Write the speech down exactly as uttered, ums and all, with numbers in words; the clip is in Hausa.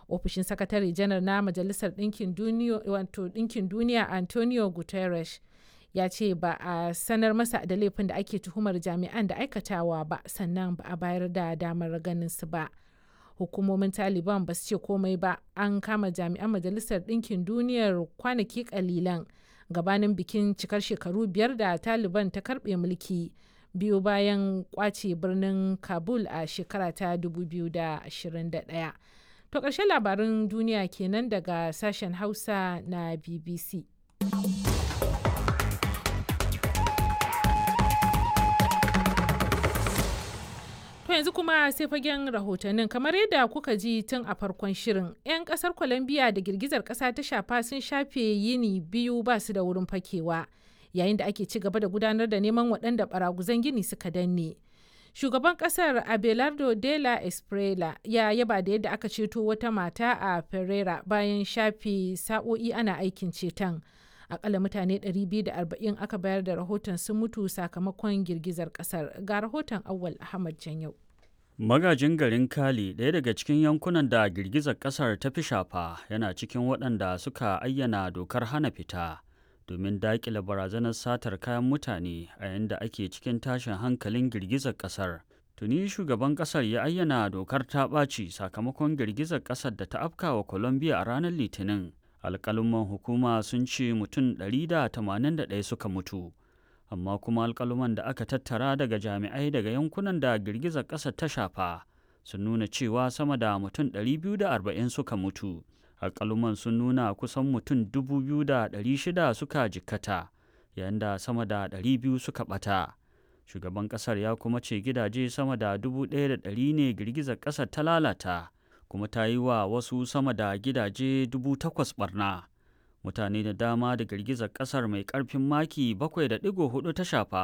Ofishin Sakatare Janar na Majalisar Ɗinkin Duniya, wato Ɗinkin Duniya Antonio Guterres ya ce ba a sanar masa da laifin da ake tuhumar jami'an da aikatawa ba, sannan ba a bayar da damar ganin su ba. Hukumomin Taliban ba su ce komai ba. An kama jami'an Majalisar Ɗinkin Duniyar kwanaki kalilan gabanin bikin cikar shekaru biyar da Taliban ta karbe mulki biyu bayan kwace birnin Kabul a shekara ta dubu biyu da ashirin da ɗaya. To, ƙarshen labarin duniya kenan daga sashen Hausa na B B C. To, yanzu kuma sai fagen rahotannin. Kamar yadda kuka ji tun a farkon shirin, 'yan kasar Colombia da girgizar kasa ta shafa sun shafe yini biyu ba su da wurin fakewa yayin da ake ci gaba da gudanar da neman waɗanda baraguzan gini suka danne. Shugaban kasar Abelardo de la Esprela ya yaba da yadda aka ceto wata mata a Pereira bayan shafe sa'o'i ana aikin ceton. Akalla mutane ɗari biyu da arba'in aka bayar da rahoton sun mutu sakamakon girgizar kasar. Ga rahoton Awwal Ahmad Janyau. Magajin garin Cali, ɗaya daga cikin yankunan da girgizar ƙasar ta fi shafa, yana cikin waɗanda suka ayyana dokar hana fita domin daƙile barazanar satar kayan mutane a yayin da ake cikin tashin hankalin girgizar ƙasar. Tuni shugaban ƙasar ya ayyana dokar ta ɓaci sakamakon girgizar ƙasar da ta afkawa Colombia a ranar Litinin. Alƙaluman hukuma sun ce mutum ɗari da tamanin da ɗaya suka mutu. Amma kuma alƙaluman da aka tattara daga jami'ai daga yankunan da girgizar ƙasar ta shafa sun nuna cewa sama da mutum ɗari biyu da arba'in suka mutu. Alƙaluman sun nuna kusan mutum dubu biyu da ɗari shida suka jikkata, yayin da sama da ɗari biyu suka ɓata. Shugaban ƙasar ya kuma ce gidaje sama da dubu ɗaya da ɗari ne girgizar ƙasar ta lalata, kuma ta yi wa wasu sama da gidaje dubu takwas barna. Mutane da dama da girgizar kasar mai karfin maki bakwai da ɗigo huɗu ta shafa